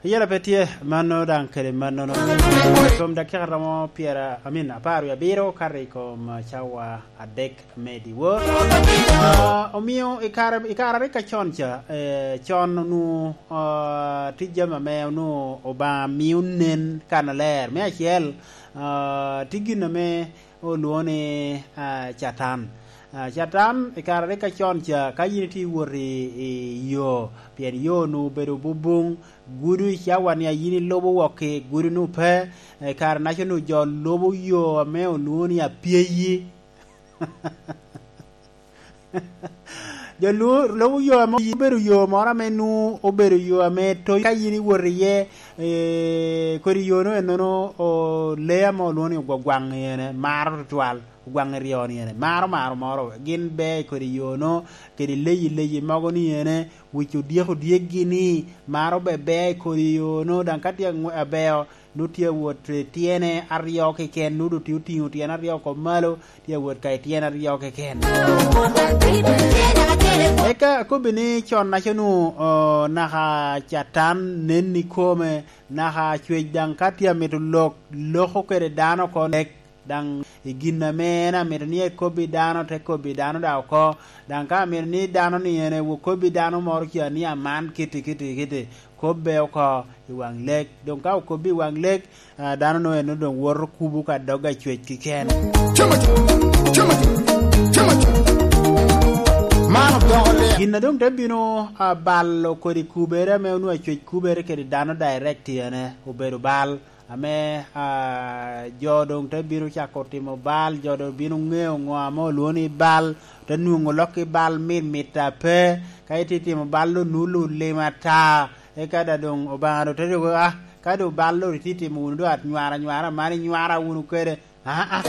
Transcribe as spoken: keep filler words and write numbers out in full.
Yela pe tye, mano daŋ kede mannono. Kom dakika romo pyera, amin, apar wie abiro, kato i kom cawa adek me dyewor. Ah, omio i kare, i kare a rik acon ca, eh, con onwoŋo, ah, tye jami ame onwoŋo Obaŋa mio nen kannaler. Me acel, ah, tye gin ame olwoŋo ni, ah, Catan. Ah, Catan, i kare a rik acon ca, ka yin itye iwot i, i yo, pien yo onwoŋo obedo bubuŋ, gudo i cawa-ni a yin ilubo wok i gudo-nu pe, i kare-naca onwoŋo jo lubo yo ame olwoŋo ni apyeyi. Jo lubo, lubo yo ame obedo yo moro ame nwoŋo obedo yo ame toyo ka yin iwot iye, eh, kodi yo-nu ennono, o, lee ame olwoŋo ni ogwagwaŋ i ene, maro tutwal, ogwaŋ i ryo-ni ene, maro maro moro, gin bea i kodi yo-nu, kede leyi leyi mogo ni ene, wic odyek odyekgi ni, maro be bea i kodi yo-nu, daŋ ka tye aŋwe-, abeo, nwoŋo tye awot i tyene aryo keken, nwoŋo doŋ tye otiŋo tyene aryo oko malo, tye awot ka i tyene aryo keken. Eka akobbi ni con-naca onwoŋo, o, naka Catan nen ikome, naka cwec daŋ ka tye amito lok, loko kede dano oko lek, daŋ i gin ame en amito ni ekobbi dano, te kobbi dano daŋ oko, daŋ ka amito ni dano ni en ewo kobbi dano moro ca ni aman kiti, kiti, kiti, kobbe oko i waŋ lek. Doŋ ka okobbi i waŋ lek, ah, dano-nu en doŋ woto kubo ka dog acwec keken. Gin a doŋ te bino, ah, balo kodi kubere ame onwoŋo acwec kubere kede dano direct ene obedo bal, ame, ah, jo doŋ te bino cako timo bal, jo doŋ bino ŋeo ŋo ame olwoŋo ni bal, te nwoŋo lok i bal mit mit a pe, ka itye timo bal onwoŋo lulima ata, eka daŋ doŋ Obaŋa doŋ te dwogo, ah, ka doŋ bal doŋ itye timo wunu doŋ anywara nywara, man inywara wunu kede, aa,